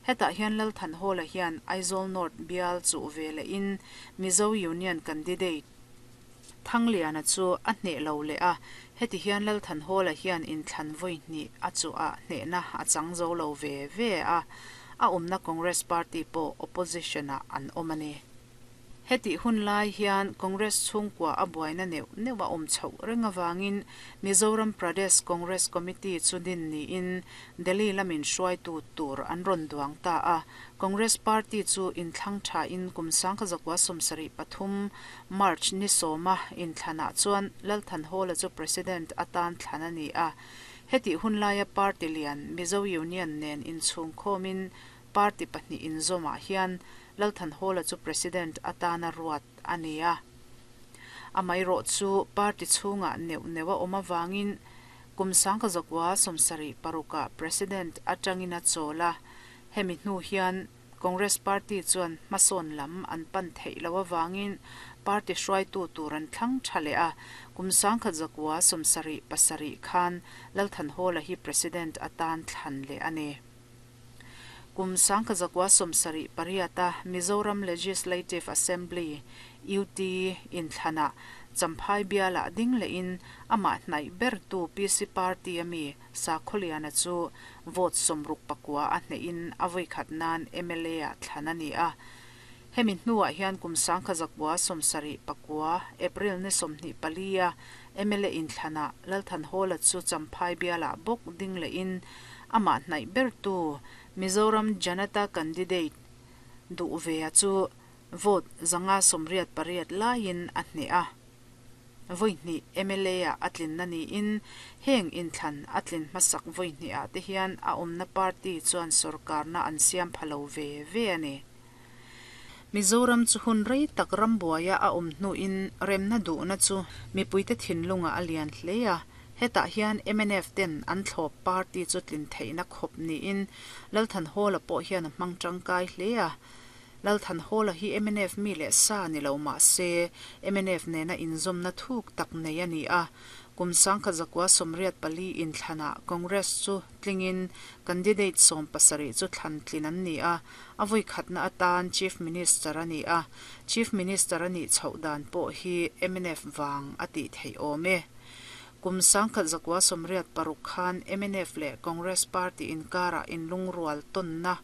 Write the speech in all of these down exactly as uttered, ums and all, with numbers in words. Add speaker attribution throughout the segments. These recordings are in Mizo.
Speaker 1: Hetah hian Lal Thanhawla hian Aizawl North bial chu ve lehin Mizo Union candidate Thangliana chu a hneh lo leh a. Heti hian Lal Thanhawla hian inthlan vawi hnih a chu a hnehna a chang zo lo ve ve a. A awmna Congress Party pawh opposition ah an awm a ni. Heti hun lai hian Congress chhungkua a buaina neuh neuh a awm chhoh reng awangin Mizoram Pradesh Congress Committee chu din niin Delhi lamin hruaitu tur an rawn duang ta a. Congress Party chu inthlang tha in kum sangkhat zakua sawmsarih pathum March ni sawma inthlanah chuan Lal Thanhawla chu President atan thlan a ni a. Heti hun laia party lian Mizo Union nen inchhung khawmin party pahnih inzawmah hian Lal Thanhawla chu President atana ruat a ni a. Amaherawh chu party chhungah neuh neuh a awm awangin kum sangkhat zakua sawmsarih parukah President atangin a chawl a. Hemi hnu hian Congress Party chuan hmasawn lam an pan theih lo awangin party hruaitu tur an thlang tha leh a. Kum sangkhat zakua sawmsarih pasarih khan Lal Thanhawla hi President atan thlan leh a ni. Kum sangkhat zakua sawmsarih pariata Mizoram Legislative Assembly U T inthlana Champhai biala ding lehin amah hnaih bertu P C Party ami Sakhawliana chu vote sawmruk pakua a hnehin a vawi khat nan M L A ah thlan a ni a. Hemi hnuah hian kum sangkhat zakua sawmsarih pakua April ni sawmhnih palia M L A inthlana Lal Thanhawla chu Champhai biala bawk ding lehin amah hnaih bertu Mizoram Janata candidate duh ve a chu vote zanga sawmriat pariat laiin a hneh a. Vawi hnih M L A ah a tlin na niin heng inthlan a tlin hmasak vawi hnih ah te hian a awmna party chuan sorkarna an siam pha lo ve ve a ni. Mizoram chu hun rei tak rambuaia a awm hnuin remna duhna chu mipuite thinlunga a lian hle a. Hetah hian M N F ten an thlawp party chu tlin theihna khawp niin Lal Thanhawla pawh hian a hmang tangkai hle a. Lal Thanhawla hi M N F mi leh sa ni lo mah se M N F nena inzawmna thuk tak nei a ni a. Kum sangkhat zakua sawmriat pali inthlana Congress chu tlingin candidate sawm pasarih chu thlan tlin an ni a. A vawi khatna atan Chief Minister a ni a. Chief Minister a nih chhoh dan pawh hi M N F wang a tih theih awm e. Kum sangkhat zakua sawmriat paruk khan M N F leh Congress Party inkara inlungrual tawnna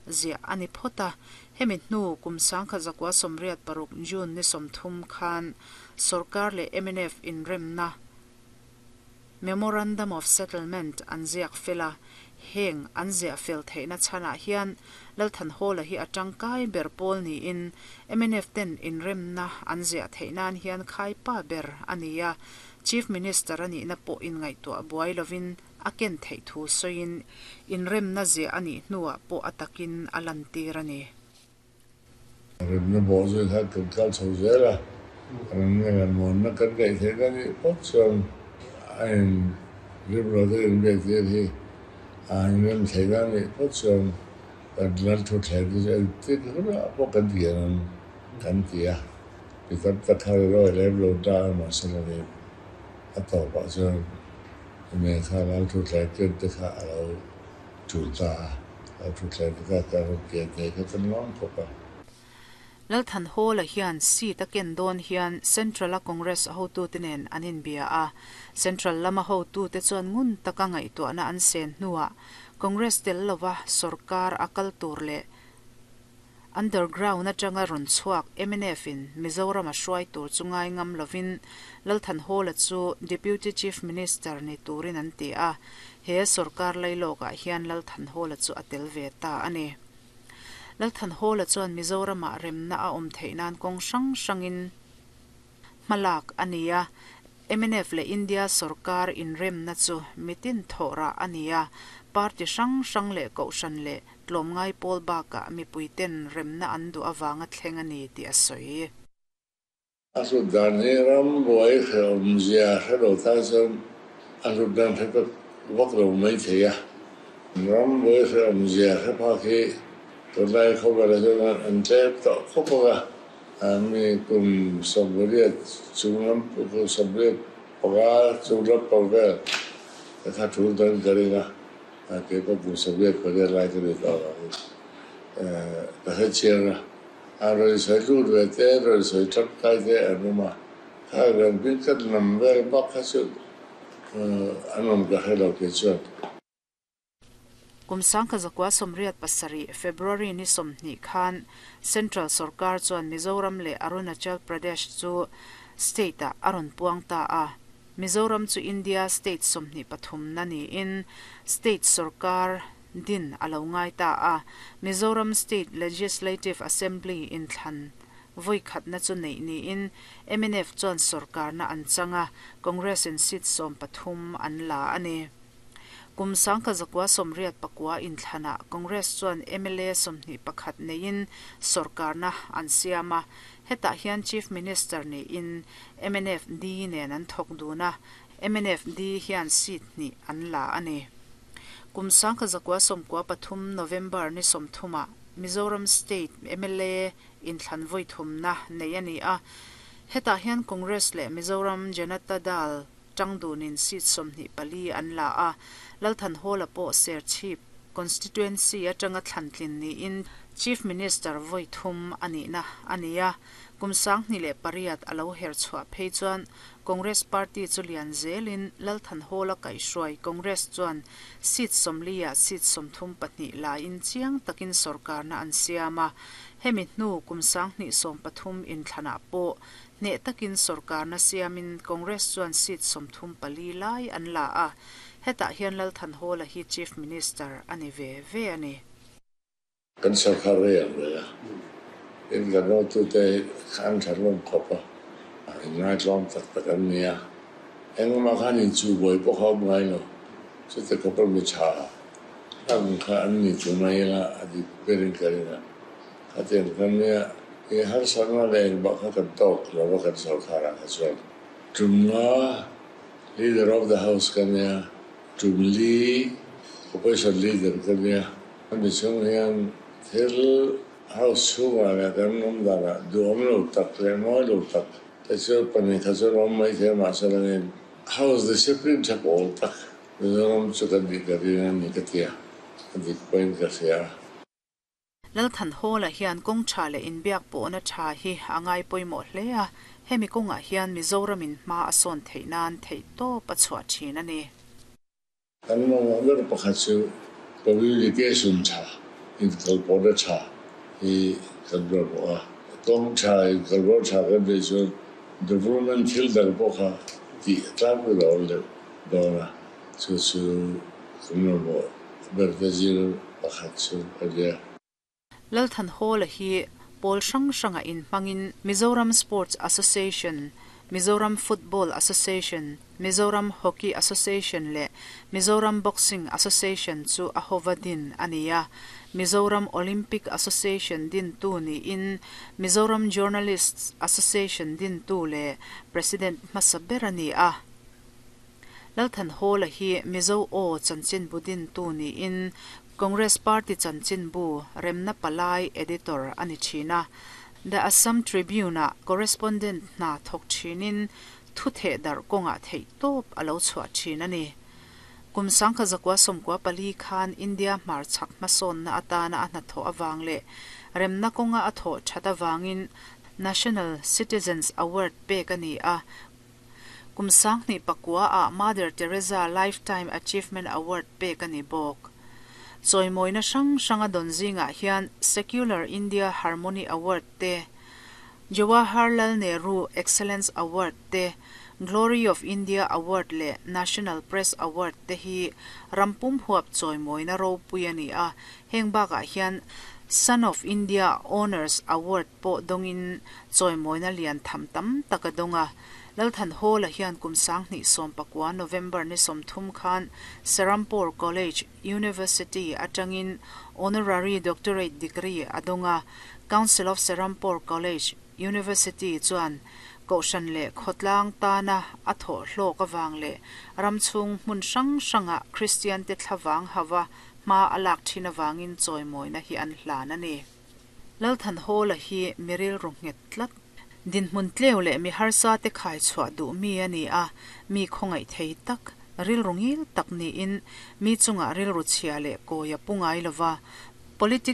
Speaker 1: ziah a ni phawt a. Hemi hnu kum sangkhat zakua sawmriat paruk June ni sawmthum khan sorkar leh M N F inremna Memorandum of Settlement an ziak fela. Heng an ziah fel theihna chhanah hian Lal Thanhawla hi a tangkai ber pawl niin M N F ten inremna an ziah theih nan hian khai pa ber a ni a. Chief Minister a nihna pawh inngaihtuah buai lovin a ken theih thu sawiin inremna ziah a nih hnuah pawh a takin a lan tir a ni.
Speaker 2: Remna bawh zui kha kan kal chho zel a. Remna leh muanna kan ngaih theihna nih phawt chuan a in rimro te inbiak tir hi a inrem theihna nih phawt chuan kan lal thu thleng te chu engtin hunah pawh kan ti an kan ti a. Mi tam tak kha rawi lem lo ta a mahse la ni a tawpah chuan nen kha lal thu thleng ken te kha a lo tul ta a. Lal thu thleng te kha kan rawn kian thei kha kan lawm khawp a.
Speaker 1: Lal Thanhawla hian seat a ken dawn hian Central a Congress hotu te nen an inbia a. Central lama hotu te chuan ngun taka ngaihtuahna an sen hnuah Congress tel lova sorkar a kal tur leh underground atanga rawn chhuak M N F in Mizoram a hruai tur chu ngai ngam lovin Lal Thanhawla chu Deputy Chief Minister ni turin an ti a. He sorkar lailawkah hian Lal Thanhawla chu a tel ve ta a ni. Lal Thanhawla chuan Mizoramah remna a awm theih nan kawng hrang hrangin hmalak a ni a. M N F leh India sorkar inremna chu mitin thawhrah a ni a. Party hrang hrang leh kohhran leh tlawmngai pawl bakah mipuiten remna an duh awanga thleng a ni tih a sawi.
Speaker 2: A hlut dan hi rambuai hrehawm zia hre lo tan chuan a hlut dan hre tak vak lo mai thei a. Rambuai hrehawm zia hre phak hi tunlai khawvela chuan an tlem tawh khawp ang a. Mi kum sawmriat chung lam kum sawmriat panga chung lam pang vel kha thul dan ka ring a. Kei pawh kum sawmriat pariat lai ka ni tawh avangin ka hre chiang a. A rawn sawi lut ve te, rawn sawi tangkai te an awm a. Kha kan hming kan lam vel bak kha chu an awm ka hre lo kei chuan.
Speaker 1: Kum sangkhat zakua sawmriat pasarih February ni sawmhnih khan Central Sorkar chuan Mizoram leh Arunachal Pradesh chu state ah a rawn puang ta a. Mizoram chu India state sawmhnih pathumna niin state sorkar din a lo ngai ta a. Mizoram State Legislative Assembly inthlan vawi khatna chu neih niin M N F chuan sorkarna an chang a, Congress in seat sawm pathum an la a ni. Kum sangkhat zakua sawmriat pakua inthlana Congress chuan M L A sawmhnih pakhat neiin sorkarna an siam a. Hetah hian Chief Minister niin M N F D nen an thawk dun a, M N F D hian seat hnih an la a ni. Kum sangkhat zakua sawmkua pathum November ni sawmthuma Mizoram State M L A inthlan vawi thumna nei a ni a. Hetah hian Congress leh Mizoram Janata Dal tangdunin seat sawmhnih pali an la a. Lal Thanhawla pawh Serchhip constituency atanga thlantlin niin Chief Minister vawi thum a nihna a ni a. Kum sanghnih leh pariat a lo her chhuah phei chuan Congress Party chu lian zelin Lal Thanhawla kaihhruai Congress chuan seat sawmliah seat sawmthum pahnih lain chiang takin sorkarna an siam a. Hemi hnu kum sanghnih sawm pathum inthlanah pawh hneh takin sorkarna siamin Congress chuan seat sawmthum pali lai an la a. Hetah hian Lal Thanhawla hi Chief Minister a ni ve ve a ni.
Speaker 2: Kan sorkar rei ang rei a. In kan hotute an tha hlawm khawp a. Inngaihtlawm tak tak an ni a. Engmah khan inchuhbuai pawh kha awm ngai lo. Chute khawpa mi tha ang kha an ni chu mai ila a dik berin ka ring a. Khatiang khan nia i harsatna leh engmah kha kan tawk lo va kan sorkarah kha chuan. Tumnga Leader of the House ka nia, tum li Opposition Leader ka nia. Ami chung hian thil House chhungah leh kan awm danah duhawm lo tak leh mawi lo tak te chu pahnih kha chuan awm mai thei a, mahse langin House discipline tha pawl tak Mizoram chu kan nih ka ring a ni ka ti a, a dik pawhin ka hria.
Speaker 1: Lal Thanhawla hian kawng tha leh inbiak pawhna tha hi a ngai pawimawh hle a. Hemi kawngah hian Mizoramin hma a sawn theih nan theih tawp a chhuah thin a ni.
Speaker 2: Kan mamawh ber pakhat chu communication tha, inkalpawhna tha hi kan mamawh a. Kawng tha, inkalpawh tha kan neih chuan development thil dang pawh kha tih tlangpui lo awm deuh dawn a. Chu chu kan mamawh ber te zir pakhat chu a nia.
Speaker 1: Lal Thanhawla hi pawl hrang hranga inhmangin Mizoram Sports Association, Mizoram Football Association, Mizoram Hockey Association leh Mizoram Boxing Association chu a hova din a ni a. Mizoram Olympic Association dintu niin Mizoram Journalists Association dintu leh President hmasa ber a ni a. Lal Thanhawla hi Mizo Aw chanchinbu dintu niin Congress Party chanchinbu Remna Palai editor a ni thin a. The Assam Tribune-ah correspondent hna thawk thinin thu theh darh kawngah theih tawp a lo chhuah thin a ni. Kum sangkhat zakua sawmkua pali khan India hmar chhak hmasawnna atana a hnathawh awang leh remna kawnga a thawh that awangin National Citizens Award pek a ni a. Kum sanghnih pakua ah Mother Teresa Lifetime Achievement Award pek a ni bawk. Chawimawina hrang hranga dawn zingah hian Secular India Harmony Award te, Jawaharlal Nehru Excellence Award te, Glory of India Award leh National Press Award te hi rampum huap chawimawina ropui a ni a. Heng bakah hian Son of India Honours Award pawh dawngin chawimawina lian tham tam tak a dawng a. Lal Thanhawla hian kum sanghnih sawm pakua November ni sawmthum khan Serampore College University atangin Honorary Doctorate degree a dawng a. Council of Serampore College University chuan kohhran leh khawtlang tana a thawh hlawk awang leh ramchhung hmun hrang hranga Christian te thlavang hawa hma a lak thin awangin chawimawina hi an hlan a ni. Lal Thanhawla hi miril ru nghet tlat dinhmun tleu leh mi harsa te khai chhuah duh mi a ni a. Mi khawngaih thei tak Rilru ngil tak niin mi chungah rilru chhia leh kawi a pu ngai lova, Politics